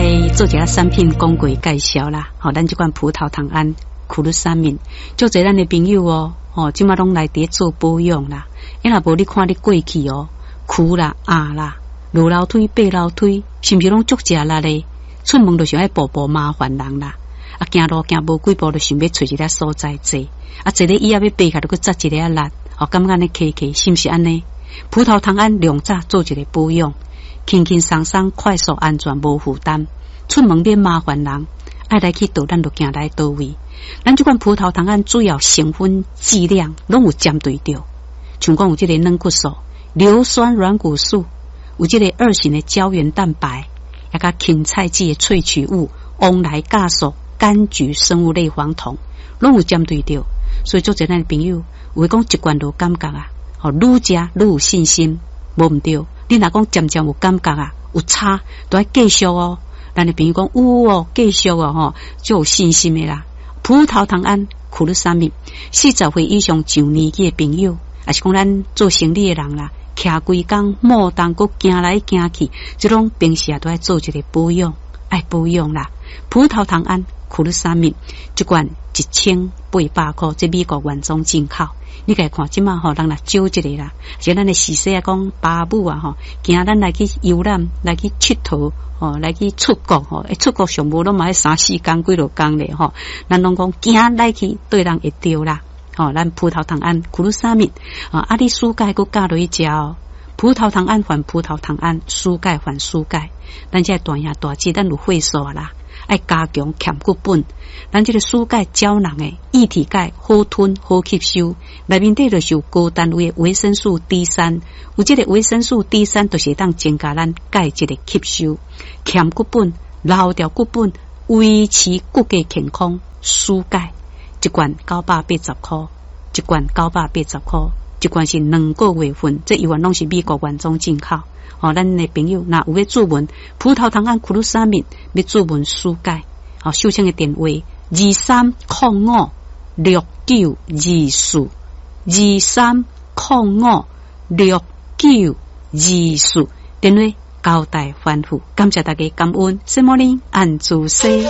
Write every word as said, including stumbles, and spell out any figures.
來做一下產品廣告介紹啦。吼，咱這款葡萄糖胺、苦魯三敏，足濟咱的朋友哦，吼，這馬攏來佇做保養啦。啊若無你看你過去哦，跍啦、壓啦、落樓梯、爬樓梯，是毋是攏足食力咧？出門就想愛步步麻煩人啦。啊，行路行無幾步就想欲揣一个所在坐，啊，坐咧椅仔欲爬起來，閣紮一下力，哦，感覺按呢磕磕，是毋是按呢？葡萄糖胺量早做一个保養，輕輕鬆鬆、快速、安全、無負擔，出門免麻煩人，愛來去佗，咱就行來佗位。咱這款葡萄糖胺主要成分劑量攏有針對著，像講有這個軟骨素、硫酸軟骨素，有這個二型的膠原蛋白，抑佮芹菜籽的萃取物、黃來酵素、柑橘生物類黃酮，攏有針對著。所以足濟咱的朋友有的講一罐就有感覺啊，吼，愈食愈有信心，無毋對。你若講漸漸有感覺啊，有差，都愛繼續哦。咱的朋友講有哦，繼續哦，吼，就有信心的啦。葡萄糖胺、苦魯三敏，四十歲以上上年紀的朋友，抑是講咱做生理的人啦，徛規工摩動閣行來行去，這種平時啊都愛做一個保養，愛保養啦。葡萄糖胺、苦魯三敏，這罐一千八百箍，這美國原裝進口。你家看這馬吼，人若少一个啦，像咱的時勢啊，講爸母啊吼，驚咱來去遊覽，來去𨑨迌，吼，來去出國吼，欸，出國上無攏嘛愛三四工幾落工咧吼，咱攏講驚來去對人會著啦，吼，咱葡萄糖胺、苦魯三敏啊，啊，你舒鈣閣加落去食哦，葡萄糖胺還葡萄糖胺，舒鈣還舒鈣，咱這大兄大姊，咱有歲數啦，愛加強強骨本。咱這個舒鈣膠囊的液體鈣好吞好吸收，內面底就是有高單位的維生素 D 三，有這個維生素 D 三，就是會當增加咱鈣質的吸收，強骨本、留牢骨本，維持骨骼健康。舒鈣一罐九百八十箍，一罐九百八十箍，一罐是兩個月份，這猶原攏是美國原裝進口。哦，咱的朋友若有欲注文葡萄糖胺苦魯三敏，欲注文舒鈣，哦，秀清的電話二三空五六九二四，二三空五六九二四，電話交代吩咐，感謝大家感恩，什麼呢？按主西。